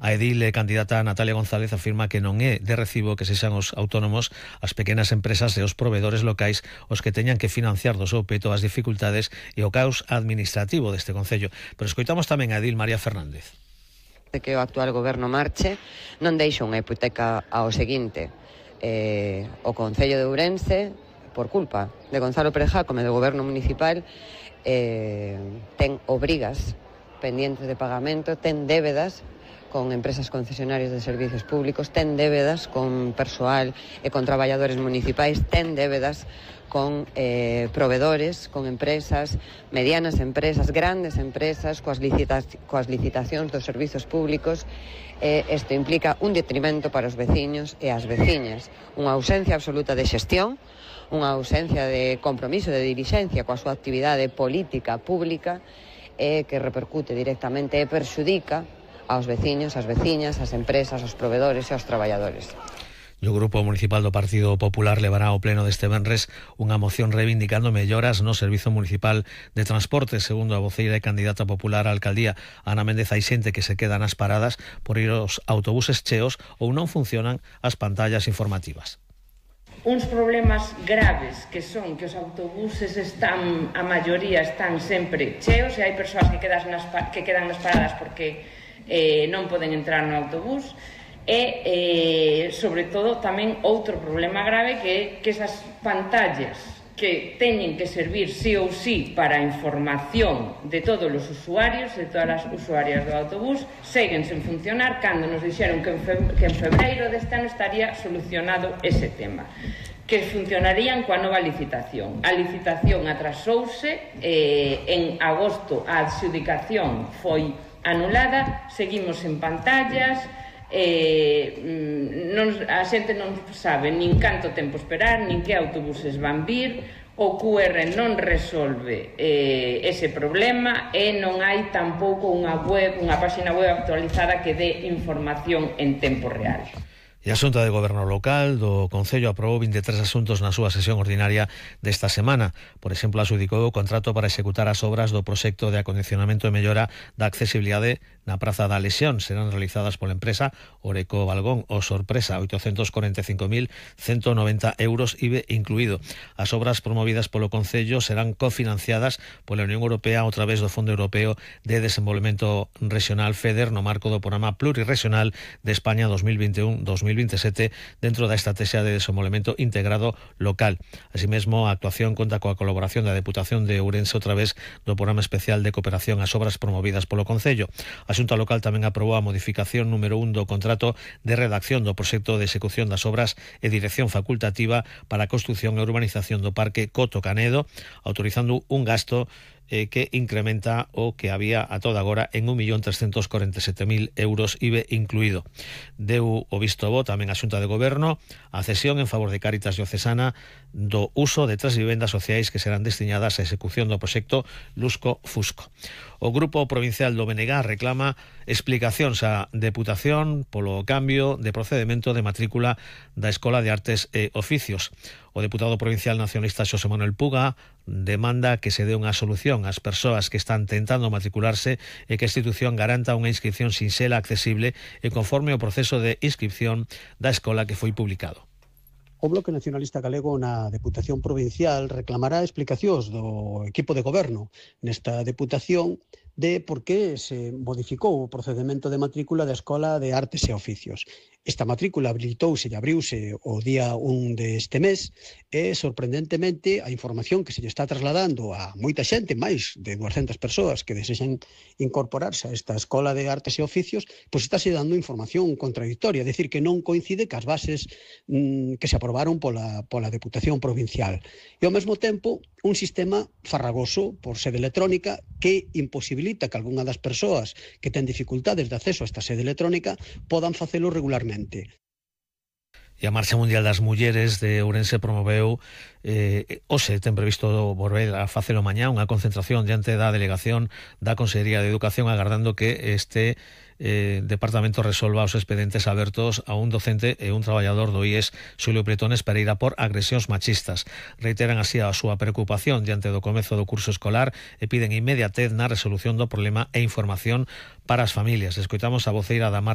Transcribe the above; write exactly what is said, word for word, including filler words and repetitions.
A edil e candidata Natalia González afirma que non é de recibo que sexan os autónomos, as pequenas empresas e os provedores locais os que teñan que financiar do seu peto as dificultades e o caos administrativo deste concello. Pero escoitamos tamén a edil María Fernández. Que o actual goberno marche non deixa unha hipoteca ao seguinte. Eh, o Concello de Ourense, por culpa de Gonzalo Pérez Jácome do goberno municipal, eh, ten obrigas pendientes de pagamento, ten débedas con empresas concesionarias de servicios públicos, ten débedas con persoal e con traballadores municipais, ten débedas con eh, provedores, con empresas, medianas empresas, grandes empresas, coas, licita coas licitacións dos servizos públicos. Eh, isto implica un detrimento para os veciños e as veciñas, unha ausencia absoluta de xestión, unha ausencia de compromiso, de dirixencia coa súa actividade política pública, eh, que repercute directamente e perxudica aos veciños, ás veciñas, ás empresas, aos provedores e aos traballadores. E o Grupo Municipal do Partido Popular levará ao pleno deste venres unha moción reivindicando melloras no Servizo Municipal de Transporte. Segundo a voceira e candidata popular á alcaldía, Ana Méndez, hai xente que se queda nas paradas por ir aos autobuses cheos ou non funcionan as pantallas informativas. Uns problemas graves que son que os autobuses están, a maioría están sempre cheos e hai persoas que quedan nas, que quedan nas paradas porque eh, non poden entrar no autobús. E, eh, sobre todo, tamén outro problema grave que é que esas pantallas que teñen que servir sí ou sí para a información de todos os usuarios, de todas as usuarias do autobús, seguen sen funcionar cando nos dixeron que en, fe, que en febreiro deste ano estaría solucionado ese tema, que funcionarían coa nova licitación. A licitación atrasouse, eh, en agosto a adxudicación foi anulada, seguimos en pantallas. Eh, non, a xente non sabe nin canto tempo esperar, nin que autobuses van vir, o Q R non resolve eh, ese problema e non hai tampouco unha web, unha páxina web actualizada que dé información en tempo real. E a Xunta de Goberno Local do Concello aprobou vinte e tres asuntos na súa sesión ordinaria desta semana. Por exemplo, adxudicou o contrato para executar as obras do proxecto de acondicionamento e mellora da accesibilidade na Praza da Lesión. Serán realizadas pola empresa Oreco Balgón o Sorpresa, oitocentos corenta e cinco mil ciento noventa euros I V A incluído. As obras promovidas polo Concello serán cofinanciadas pola Unión Europea a través do Fondo Europeo de Desenvolvemento Regional FEDER no marco do Programa Plurirregional de España dos mil vinte e un a dos mil vinte e sete dentro da Estrategia de Desenvolvemento Integrado Local. Así mesmo, a actuación conta coa colaboración da Deputación de Ourense a través do Programa Especial de Cooperación ás Obras promovidas polo Concello. A Xunta Local tamén aprobou a modificación número un do contrato de redacción do proxecto de execución das obras e dirección facultativa para a construción e urbanización do Parque Coto Canedo, autorizando un gasto eh, que incrementa o que había a toda agora en un millón trescentos corenta e sete mil euros I V A incluído. Deu o visto bo tamén a Xunta de Goberno a cesión en favor de Cáritas Diocesana do uso de tres vivendas sociais que serán destinadas á execución do proxecto Lusco Fusco. O Grupo Provincial do B N G reclama explicacións á Deputación polo cambio de procedemento de matrícula da Escola de Artes e Oficios. O deputado provincial nacionalista Xosé Manuel Puga demanda que se dé unha solución ás persoas que están tentando matricularse e que a institución garanta unha inscripción sinxela, accesible e conforme ao proceso de inscripción da escola que foi publicado. O Bloque Nacionalista Galego na Deputación Provincial reclamará explicacións do equipo de goberno nesta deputación de por que se modificou o procedemento de matrícula da Escola de Artes e Oficios. Esta matrícula habilitouse e abriuse o día un deste mes e, sorprendentemente, a información que se lle está trasladando a moita xente, máis de duascentas persoas que desexan incorporarse a esta Escola de Artes e Oficios, pois estáse dando información contradictoria, é dicir, que non coincide cas bases mmm, que se aprobaron pola, pola Deputación Provincial. E, ao mesmo tempo, un sistema farragoso por sede electrónica que imposibilita que algunha das persoas que ten dificultades de acceso a esta sede electrónica podan facelo regularmente. E a Marcha Mundial das Mulleres de Ourense promoveu eh, hoxe ten previsto volver a facelo mañá unha concentración diante da delegación da Consellería de Educación agardando que este eh, departamento resolva os expedientes abertos a un docente e un traballador do I E S Xulio Bretones Pereira por agresións machistas. Reiteran así a súa preocupación diante do comezo do curso escolar e piden inmediatez na resolución do problema e información para as familias. Escoitamos a voceira da Marcha